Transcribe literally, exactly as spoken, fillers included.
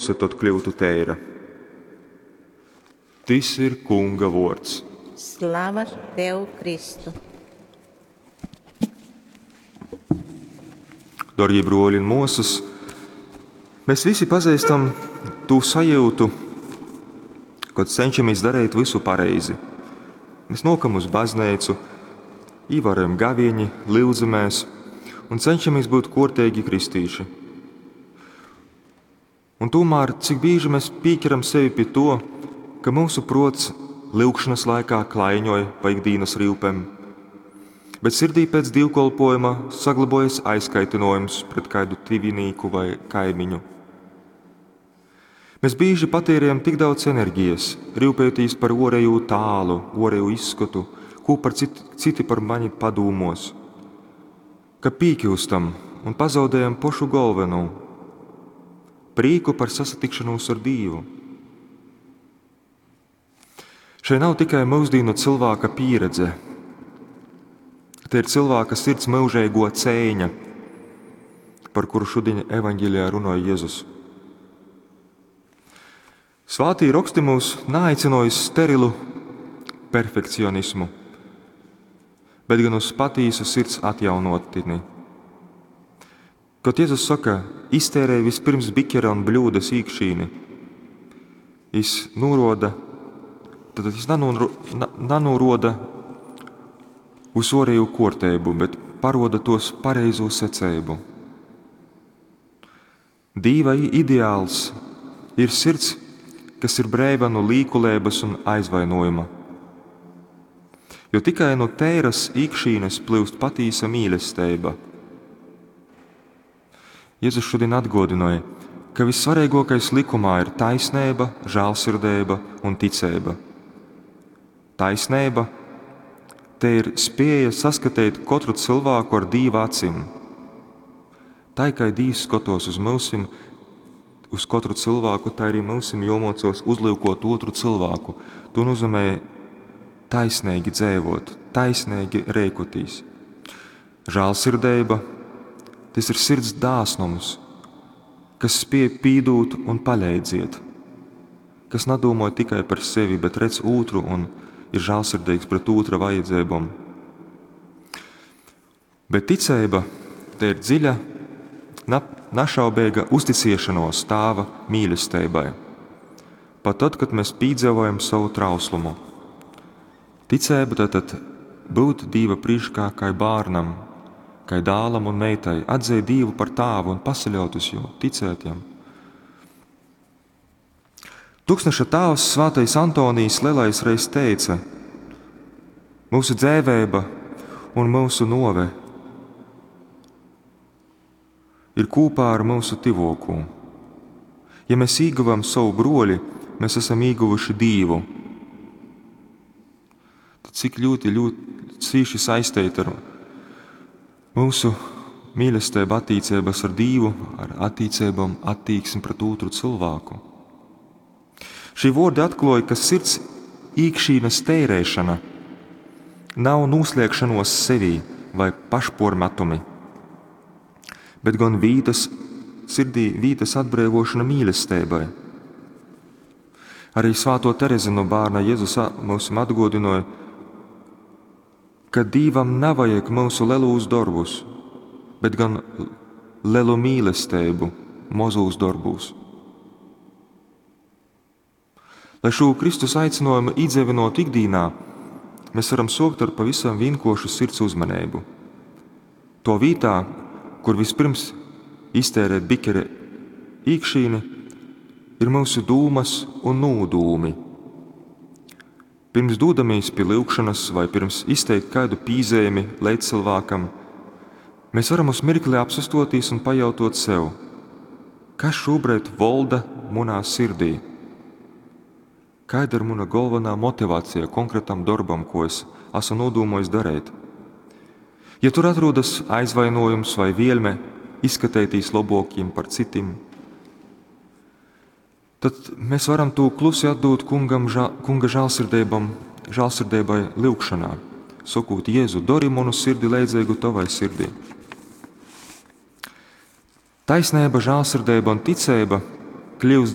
puse tod kļūtu teira. Tys ir Kunga vuords. Slava Tev, Kristu! Darbie bruoli un muosys, mēs visi pazīstam tū sajūtu, kad cenšamies darīt visu pareizi. Mēs nokam uz baznīcu, ievērojam gavieni, lūdzamies un cenšamies būt kortīgi kristīši. Un tomēr, cik bieži mēs pieķeram sevi pie to, ka mūsu prots lyugšanas laikā klaiņoja pa ikdienas rīpēm, bet sirdī pēc dievkalpojuma saglabojas aizkaitinojums pret kādu tivinīku vai kaimiņu. Mēs bieži patērējam tik daudz enerģijas, rūpējoties par orēju tālu, orēju izskatu, ko par citi, citi par mani padūmos, ka pīkļūstam un pazaudējam pošu galveno – prīku par sasatikšanos ar Dievu. Šeit nav tikai mūsdienu cilvēka pieredze. Te ir cilvēka sirds mūžīgo cēņa, par kuru šodien evaņģēlijā runāja Jēzus. Svātī raksti mūs neaicināja uz sterilu perfekcionismu, bet gan uz patīsu sirds atjaunotni. Kad Jēzus saka, iztērēj vispirms bikera un bļūdas īkšķīni, viņš noroda, tad viņš nanoro, na, nanoroda uz orēju kortēbu, bet paroda tos pareizo secēbu. Dīva ideāls ir sirds, kas ir brēva no līkulēbas un aizvainojuma. Jo tikai no tēras īkšķīnes plūst patīsa mīlestība. Jēzus šodien atgādināja, ka vissvarīgākais likumā ir taisnība, žēlsirdība un ticība. Taisnība te ir spēja saskatīt katru cilvēku ar Dīva acīm. Tā kā Dīvs skatos uz mūsim, uz katru cilvēku, tā arī mūsim jomocos uzlūkot otru cilvēku. To nozīmē taisnīgi dzīvot, taisnīgi rēkotīs. Žēlsirdība tas ir sirds dāsnums, kas spēj pīdūt un paleidziet, kas nedomāja tikai par sevi, bet redz otru un ir žēlsirdīgs pret otra vajadzībām. Bet ticība te ir dziļa, na, našaubīga uzticēšanos Tāva mīlestībai. Pat tad, kad mēs piedzīvojam savu trauslumu. Ticība tad būt Dieva priekšā kā bērnam, kā dālam un meitai, atzīt Dievu par tāvu un pasaļaut uz jo, ticēt jam. Tūkstneša tēvs Svētais Antonijs Lielais reiz teica: Mūsu dzēvēba un mūsu nove ir kopā ar mūsu tivokū. Ja mēs ieguvam savu broļi, mēs esam ieguvuši Dievu. Tad cik ļoti, ļoti cīši saistīti ar mūsu mīlestība attiecības ar Dievu, ar attiecībām, attieksmi pret otru cilvēku. Šī vārdi atklāja, ka sirds īkšķīnas tērēšana nav noslēgšanos sevī vai pašpormetumi, bet gan vītas, sirdī vītas atbrīvošana mīlestībai. Arī Svēto Terezi no bērna Jēzus mums atgādināja, ka Dievam nevajag mūsu lielus darbus, bet gan lielu mīlestību mozūs darbūs. Lai šo Kristus aicinājumu iedzīvinot ikdienā, mēs varam sokt ar pavisam vienkāršu sirds uzmanību. To vietā, kur vispirms iztērēt bikere īkšķīni, ir mūsu dūmas un nūdūmi. Pirms dodamies pie lūgšanas vai pirms izteikt kādu pīzēmi līdzcilvēkam, mēs varam uz mirkli apsastoties un pajautot sev, kas šobrīd valda manā sirdī. Kāda ir mana galvenā motivācija konkrētam darbam, ko es esmu nodomājis darīt? Ja tur atrodas aizvainojums vai vielme izskatīties labākiem par citiem, tad mēs varam to klusi atdot kungam, ža, kunga žēlsirdībam, žēlsirdībai lūgšanā, sakot, Jēzu, dori manu sirdi leidzīgu tavai sirdī. Taisnība, žēlsirdība un ticība kļūst